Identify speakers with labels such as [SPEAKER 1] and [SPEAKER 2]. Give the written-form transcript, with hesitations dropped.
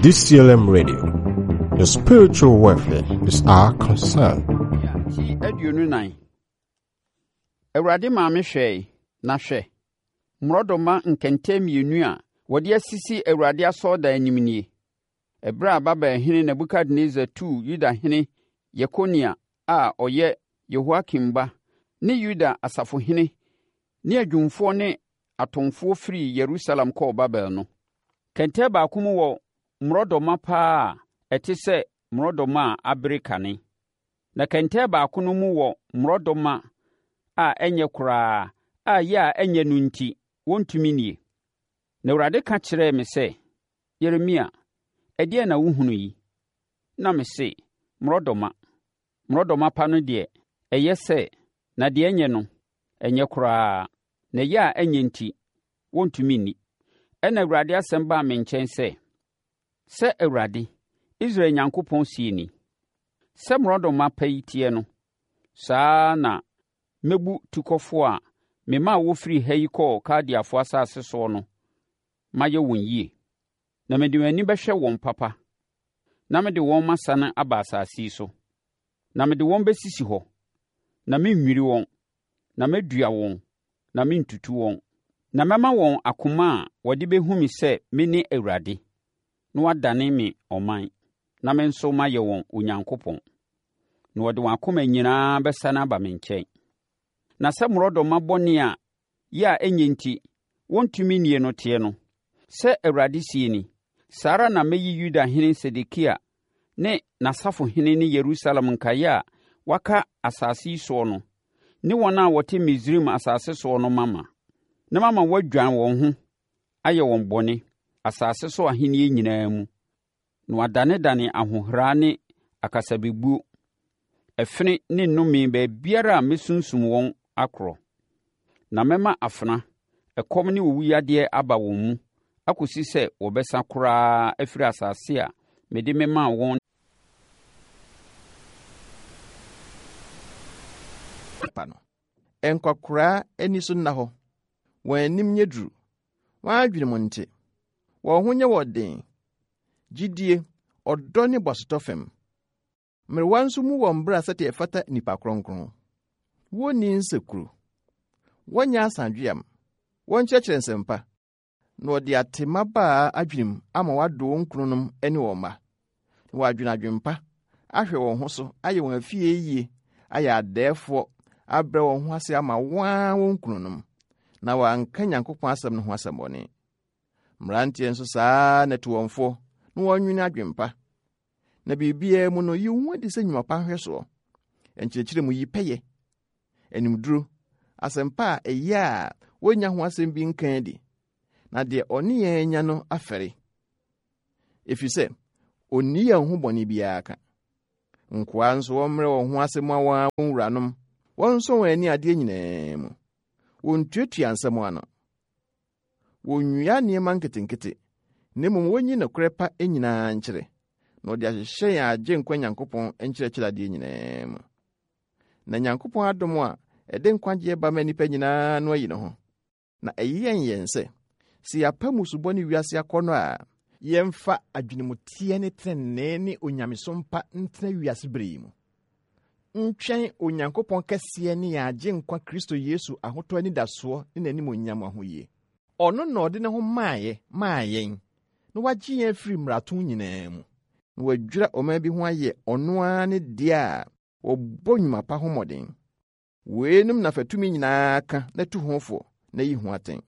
[SPEAKER 1] DCLM Radio. Your spiritual welfare is our concern.
[SPEAKER 2] Ti 24. Awurade maa me hwɛe, na hwɛ, mmorɔdɔma nkɛntɛn mmienu a wɔde asisi Awurade asɔredan anim nie. Ɛberɛ a Babelhene Nebukadnessar tuu Yudahene Yekonia a ɔyɛ Yehoiakim ba ne Yuda asafohene ne adwumfoɔ ne atomfoɔ firii Yerusalem kɔɔ Babel no. Kɛntɛn baako mu wɔ mmorɔdɔma pa ara a ɛte sɛ mmorɔdɔma a abere kane, na kɛntɛn baako no mu wɔ mmorɔdɔma a ɛnyɛ koraa a yɛ a ɛnyɛ no nti wɔntumi nnie. Na Awurade ka kyerɛɛ me sɛ, Yeremia, ɛdeɛn na wohunu yi? Na mese, Mmorɔdɔma. Mmorɔdɔma pa no deɛ, ɛyɛ sɛ, na deɛ ɛnyɛ no, ɛnyɛ koraa, na ɛyɛ a ɛnyɛ nti, wɔntumi nni. Ɛnna Awurade asɛm baa me nkyɛn sɛ, Sɛ Awurade, Israel Nyankopɔn seɛ ni, Sɛ mmorɔdɔma pa yi teɛ no, saa ara na mɛbu tukɔfoɔ a memaa wɔfirii ha yi kɔɔ Kaldeafoɔ asase soɔ no mayɛ wɔn yie. Na mede m'ani bɛhwɛ wɔn papa, na mede wɔn masane aba asase yi so. Na mede wɔn bɛsisi hɔ, na merennwiri wɔn, na mɛdua wɔn, na merentutu wɔn. Na mɛma wɔn akoma a wɔde bɛhu me sɛ mene Awurade, na wɔadane me ɔman, na me nso mayɛ wɔn Onyankopɔn. Na wɔde wɔn akoma nyinaa bɛsane aba me nkyɛn. Na sɛ mmorɔdɔma bɔne a yɛ a ɛnyɛ nti, wɔntumi nnie no teɛ no, sɛ Awurade seɛ ni, saa ara na mɛyi Yudahene Sedekia ne n'asafohene ne Yerusalem nkaeɛ a wɔaka asase yi soɔ no ne wɔn a wɔte Misraim asase soɔ no mama, na mama wɔadwan wɔn ho ayɛ wɔn bɔne, asase so ahennie nyinaa mu, na wɔadanedane ahohora ne akasabebuo, ɛfene ne nnome baabiara a mɛsunsum wɔn akorɔ. Na mɛma afena, ɛkɔm ne owuyadeɛ aba wɔn mu akɔsi sɛ wɔbɛsa koraa afiri asase a mede memaa wɔn
[SPEAKER 3] pa no. Nkwakoraa ani so nna hɔ, wɔn anim nyɛ duru, wɔn adwene mu nte, wɔn ho nyɛ wɔn den, gyidie, ɔdɔ ne boasetɔ fam. Mmerewa nso mmu wɔn bra sɛdeɛ ɛfata nnipa kronkron. Wɔnni nsekuro, wɔnyɛ asadweam, wɔnkyerɛkyerɛ nsɛmpa, na wɔde ate mmabaa adwenem ama wɔadɔ wɔn kununom ne wɔn mma, na wɔadwene adwempa, ahwɛ wɔn ho so, ayɛ wɔn afie yie, ayɛ adɛɛfoɔ, abrɛ wɔn ho ase ama wɔn ara wɔn kununom, na wɔanka Nyankopɔn asɛm no ho asɛmmɔne. Mmeranteɛ nso saa ara na tu wɔn foɔ na wɔnwene adwempa. Na biribiara mu no, yi wo ho adi sɛ nnwuma pa nhwɛsoɔ. Nkyerɛkyerɛ mu yi pɛyɛ, animduro, asɛmpa a ɛyɛ a wɔnnya ho asɛm bi nka adi, na deɛ ɔne yɛn anya no afɛre, ɛfiri sɛ ɔnni yɛn ho bɔne biara ka. Nkoa nso wɔmmrɛ wɔn ho ase mma wɔn ara wɔn wuranom, wɔnsɔ wɔn ani adeɛ nyinaa mu, wɔntuatua nsɛm ano, Wonnwia nneɛma nketenkete, na mmom wonyi nokorɛ pa nyinaa nkyerɛ, na wɔde ahyehyɛ yɛn Agyenkwa Nyankopɔn nkyerɛkyerɛ adeɛ nyinaa mu. Na Nyankopɔn adom a ɛde nkwagyeɛ ba ma nnipa nyinaa no ayi ne ho, na ɛyɛn yɛn sɛ, sɛ yɛapa mmusubɔ ne wiase akɔnnɔ a, yɛmfa adwenemuteɛ ne tenenee ne onyamesom pa ntena wiase bere yi mu, ntwɛn Onyankopɔn kɛseɛ ne yɛn Agyenkwa Kristo Yesu ahotɔ anidasoɔ ne n'animuonyam ahoyie. Ɔno na ɔde ne ho maeɛ maa yɛn, na wagye yɛn afiri mmarato nyinaa mu, na wadwira ɔman bi ho ayɛ ɔno ara ne deɛ a wɔbɔ nnwuma pa ho mmɔden. Weinom na fa tumi nyinaa ka na tu ho fo na yi ho atɛn.